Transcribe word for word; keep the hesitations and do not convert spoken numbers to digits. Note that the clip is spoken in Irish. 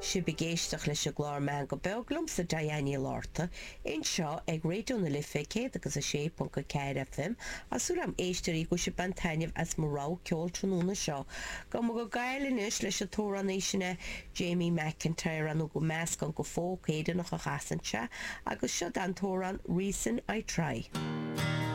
Sibh ag éisteacht leis an gclár Meangadh Beo liomsa Diane Ní Lorta, anseo ag Raidió na Life céad agus a sé ponc a ceathair FM Tá súil agam a éisteoirí go bhfuil sibh ag baint taitneamh as mo rogha ceoil tráthnóna seo. Go mo go gail anois leis an t-amhránaí sin Jamie McIntyre an go meascán de folk Éireannach a chasann sé agus seo an t-amhrán Reason I Try.